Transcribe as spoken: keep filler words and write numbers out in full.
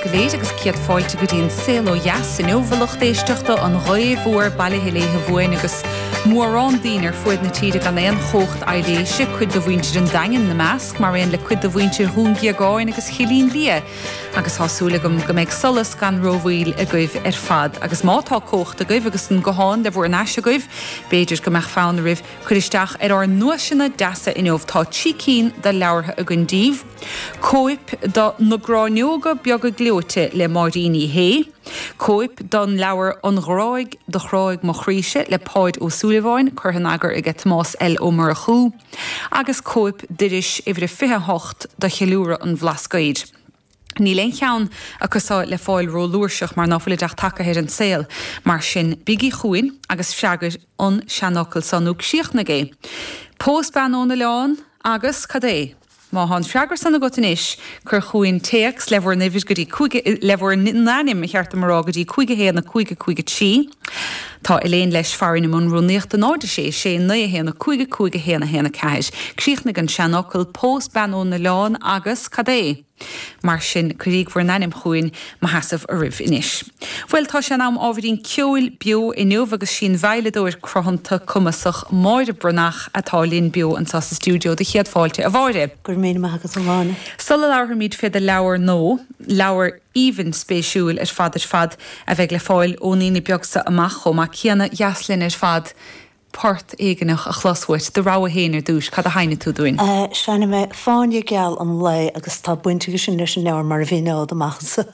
go léir agus céad fáilte go dtí an Saol Ó Dheas inniu a lucht éisteachta an ghaoth mhór bailithe léithe bhuain agus mórán daoine ar fuaid na tíre gan aon chumhacht aibhléise cuid de mhuintir an Daingin ina measc mar aon le cuid de mhuintir Dhún Géagáin agus Chillín Liath. agus tá súil agam go mbeidh solas gan rómhoill agaibh ar fad, agus má tá cumhacht agaibh agus an guthán le bhur n-ais agaibh, b'fhéidir go mbeadh fonn oraibh cur isteach ar ár nduaiseanna deasa inniu tá trí cinn de leabhartha againn daoibh. Cóip de Na Gráinneoga Beaga Gleoite le Máirín Ní Shé, Cóip den leabhar An Ghráig do Chráigh Mo Chroíse le Páid Ó Súilleabháin curtha in eagar aige Tomás L. Ó Murchú, agus cóip d'iris uimhir a fiche hocht do cheiliúradh an Bhlascaoid. Níl aon cheann acu seo le fáil rófhlúirseach mar ná fuilid ach tagtha ar an saol, mar sin bígí chugainn agus freagair an seanfhocal seo nó críochnaigh é. Pós bean ón oileán agus cad é? Má tá an freagra san agat anois, cuir chugainn téacs le bhur n-uimhir go dtí cúig, le bhur n-ainm, ba cheart dom a rá, go dtí cúig a haon a cúig a cúig a trí. Tá Elaine leis farainn i mbun rúnaíochta náid a sé sé naoi a haon a cúig a cúig a haon a haon a ceathair. Críochnaigh an seanfhocal, pós bean ón oileán agus cad é? Mar sin, cuiríg bhur n-ainm chugainn mo sheasamh oraibh anois. Bhuel, tá sé in am ábhairín ceoil beo inniu agus sí an veidhleadóir cruthanta cumasach Máire Breathnach atá linn beo anseo sa stiúideo do chéad fáilte, a Mháire. Go raibh míle maith agat, a Áine. Sula labharfaimid fé do leabhar nua, leabhar aoibhinn spéisiúil ar fad ar fad a bheidh le fáil ón Aoine beag seo amach chomh maith céanna, dheas linn ar fad port éigineach a chlos uait, do rogha féin ar dtúis, cad a sheinnfidh tú dúinn? Seinnfidh mé Fáinne Geal an Lae agus tá baint aige sin leis an leabhar mar a mhíneod amach anseo.